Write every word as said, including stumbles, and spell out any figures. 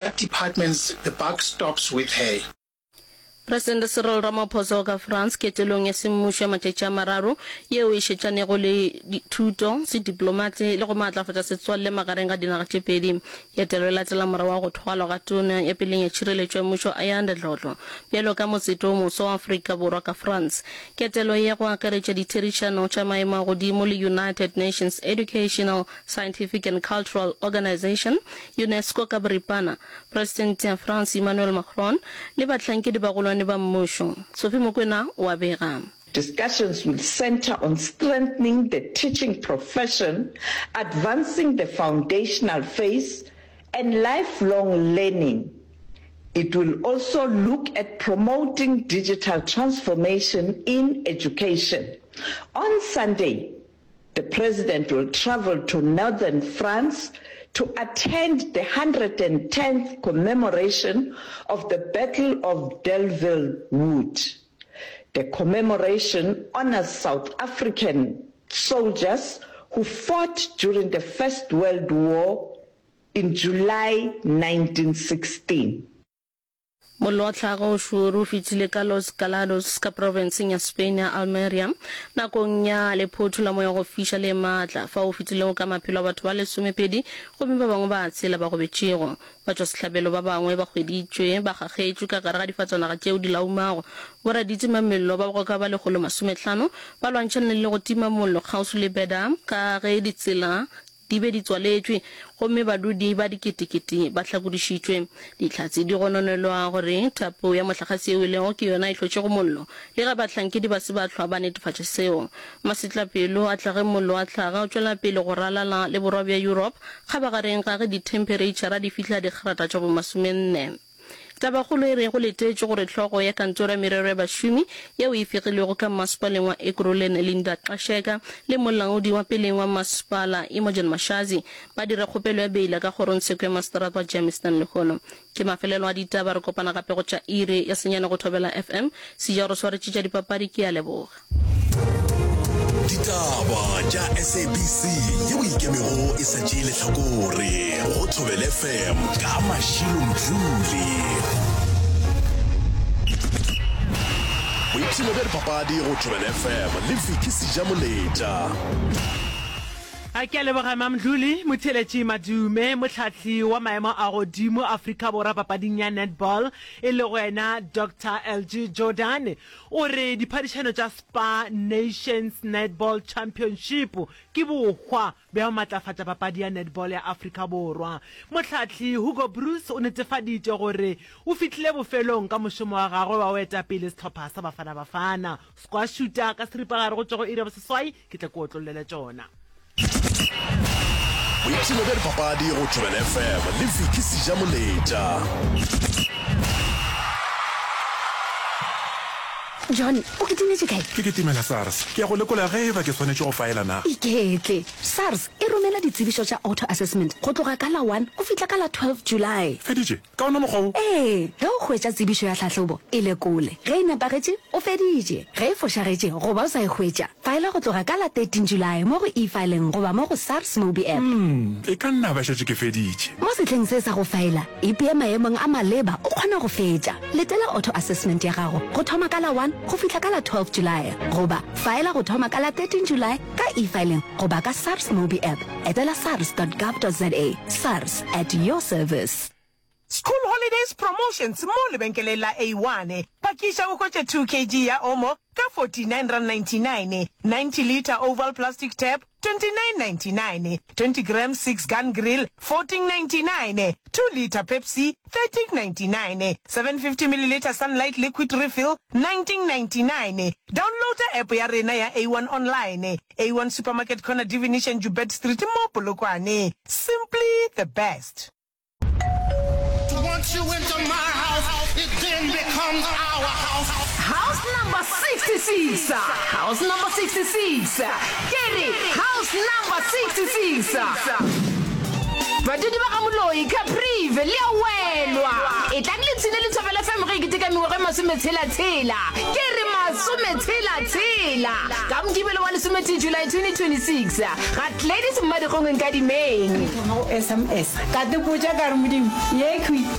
Departments the buck stops with her. Presidente Cyril Ramaphosa o ka France ketelong ya semmušo ya matšatši a mararo yeo e šetšanego le dithuto, sediplomate le go maatlafatša setswalle magareng ga dinaga tše pedi. Ketelo e latela morago ga go thwalwa ga Tona ya peleng ya Tšhireletšo ya Mmušo Ayanda Dlodlo bjalo ka motseta o moswa wa Afrika Borwa ka France. Ketelo ye go akaretša ditherišano tša maemo a godimo le United Nations Educational, Scientific and Cultural Organization, UNESCO ka boripana, Presidente ya France Emmanuel Macron le bahlankedi bagolwane ba mmušo. Sophie Mokwena o a bega. Discussions will centre on strengthening the teaching profession, advancing the foundational phase and lifelong learning. It will also look at promoting digital transformation in education. On Sunday, the president will travel to northern France to attend the hundred and tenth commemoration of the Battle of Delville Wood. The commemoration honors South African soldiers who fought during the First World War in July nineteen sixteen. Mollo wa tlhago o šoro o fetile ka Los Galados ka profenseng ya Spain ya Almeria nakong ya lephotho la moya wa go fiša le matla, fao o fetilego ka maphelo a batho ba lesomepedi gomme ba bangwe ba tshela ba gobetšego. Batšwasehlabelo ba bangwe ba hweditšwe ba kgakgetšwe ka gare ga difatanaga tšeo di laumago. Boraditimamollo ba go ka ba lekgolo masomehlano ba lwantšhane le go tima mollo kgauswi le Beda ka ge ditsela di be di tswaletšwe gomme badudi ba diketekete ba hlakodišitšwe. Dihlatse di gononelwa gore thapo ya mohlagase yeo e lego ke yona e hlotšego mollo, le ge bahlankedi ba se ba hlwa ba netefatša seo. Masetlapelo a tla ge mollo wa hlaga o tšwela pele go ralala le borwa bja Europe kgabagareng ga ge dithemphereitšhara di fihla dikgrata tša bomasomenne. Tabakgolo e re go letetšwe gore hlogo ya kantoro ya merero ya bašomi yeo e fegilwego ka mmasepaleng wa Ekurhuleni Linda Qasheka le molaodi wa peleng wa mmasepala Imogen Mashazi ba dire kgopelo ya beila ka kgorongtsheko ya maseterata wa Germiston lehono. Ke mafelelo a ditaba, re kopana gape go tša iri ya senyane go Thobela F M. Seja o re swaretše tša dipapadi, ke a leboga. Ditaba tša S A B C yeo e ikemego e sa tšee lehlakore go Thobela F M ka Mashilo Mdluli. Boipshino bja dipapadi go Thobela F M le Vicky Sejamoletša. A ke a leboga Mamdluli Motheeletši Madume, mohlahli wa maemo a godimo Afrika Borwa papading ya netball e lego yena Doctor L G Jordan o re diphadišano tša Spar Nations Netball Championship ke bohwa bja go matlafatša papadi ya netball ya Afrika Borwa. Mohlahli Hugo Broos o netefaditše gore o fihlile bofelong ka mošomo wa gagwe wa go eta pele sehlopha sa Bafana Bafana. Squash-šuta ka seripagare go tšwa go iri ya boseswai ke tle ke otlollele tšona. Boipshino bja dipapadi go Thobela F M le Vicky Sejamoletša. John, o kitimetše kae? Ke kitimela SARS. Ke ya go lekola ge e ba ke swanetše go faela na. Iketle. SARS e romela ditsebišo tša auto-assessment go tloga ka la one go fihla ka la twelve July. Feditše? Ka wona mokgwa wo? Ee, ge o hwetša tsebišo ya tlhahlobo, e lekole. Ge e nepagetše, o feditše. Ge e fošagetše goba o sa e hwetša, faela go tloga ka la thirteen July mo go eFiling goba mo go SARS Mobi App. Umm, e ka nna ba šetše ke feditše. Mo sehleng se sa go faela, ipee maemong a maleba o kgona go fetša. Letela auto-assessment ya gago go thoma ka la one go fihla ka la twelve July goba faela go thoma ka la thirteen July ka eFiling goba ka SARS Mobi App. Etela sars dot gov dot za. SARS, at your service. School Holidays Promotions mo lebenkeleng la A one. Pakiša o hwetše two kg ya Omo ka forty nine rand ninety nine, ninety litre oval plastic tap twenty nine ninety nine, twenty grams six gun grill fourteen ninety nine, two litre Pepsi thirteen ninety nine, seven fifty millilitre Sunlight liquid refill nineteen ninety nine. Downloada app ya rena ya A one online. A one Supermarket corner Divination Joubert Street mo Polokwane. Simply the best. Once you enter my house, it then becomes our house. House number sixty six, house number sixty six, ke re house number sixty six. Badudi ba ga-Moloi, Caprivi, le a welwa! Etlang le ipshine le Thobela FM ge e keteka mengwaga e masometshela-tshela. Ke re masometshela-tshela! Ka Mokibelo wa lesometee July twenty twenty-six, ga Gladys Mmadikgong Nkadimeng. Thoma go S M S ka te botša ka re Modimo ye khwi.